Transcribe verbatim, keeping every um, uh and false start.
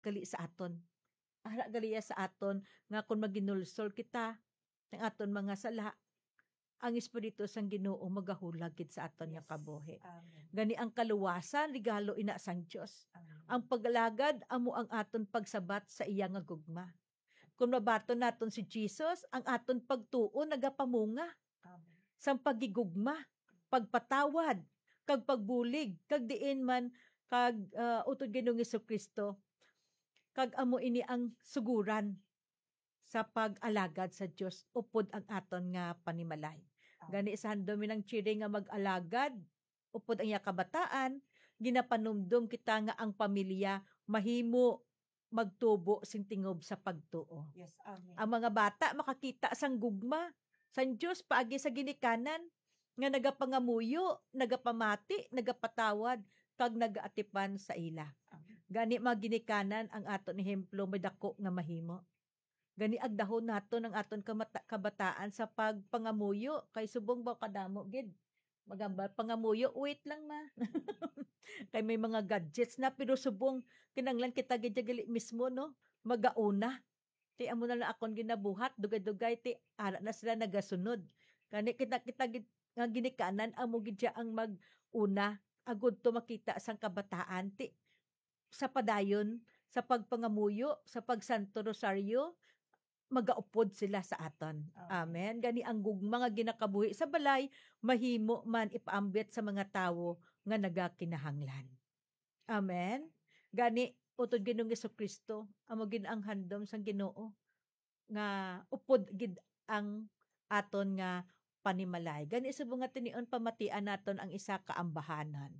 gali sa aton. Ara gali iya sa aton nga kon maginulsol kita sang aton mga sala, ang Espiritu sang Ginoo magahulag gid sa aton nga Yes. Kabuhi. Amen. Gani ang kaluwasan, regalo ina sang Dios. Amen. Ang pag-alagad amo ang aton pagsabat sa iya nga gugma. Kung mabaton naton si Jesus, ang aton pagtuo nagapamunga Amen. sang paghigugma, pagpatawad, kag pagbulig, kag diin man kag, ah, utod Ginoong Jesu-Cristo, kag amo ini ang suguran sa pag-alagad sa Dios upod ang aton nga panimalay. Amen. Gani sa handom ni Nang Chiri nga mag-alagad upod ang iya kabataan, ginapanumdom kita nga ang pamilya mahimo magtubo sing tingob sa pagtuo. Yes, amen. Ang mga bata makakita sang gugma sang Dios paagi sa ginikanan nga nagapangamuyo, nagapamati, nagapatawad, kag nagaatipan sa ila. Amen. Gani, mga ginikanan, ang aton ehemplo may dako nga mahimo. Gani, agdahon naton ang aton kamata-, kabataan sa pagpangamuyo, kay subong ba kadamo gid magambal pangamuyo, wait lang, ma. Kay may mga gadgets na, pero subong kinahanglan kita gid gali mismo, no? Magauna. Ti amo na lang akon ginabuhat, dugay-dugay, ti ara na sila nagasunod. Gani kita, kita gid nga ginikanan, amo gid siya ang mag-una, agud to makita sang kabataan, ti sa padayon sa pagpangamuyo, sa pagsanto rosaryo, magaupod sila sa aton. Amen. Amen. Gani ang gugma nga ginakabuhi sa balay mahimo man ipaambit sa mga tawo nga nagakinahanglan. Amen. Gani, utod Ginoong Jesu-Cristo, amo gid ang handom sang Ginoo nga upod gid ang aton nga panimalay. Gani, subong nga tinion, pamatian naton ang isa ka ambahanan.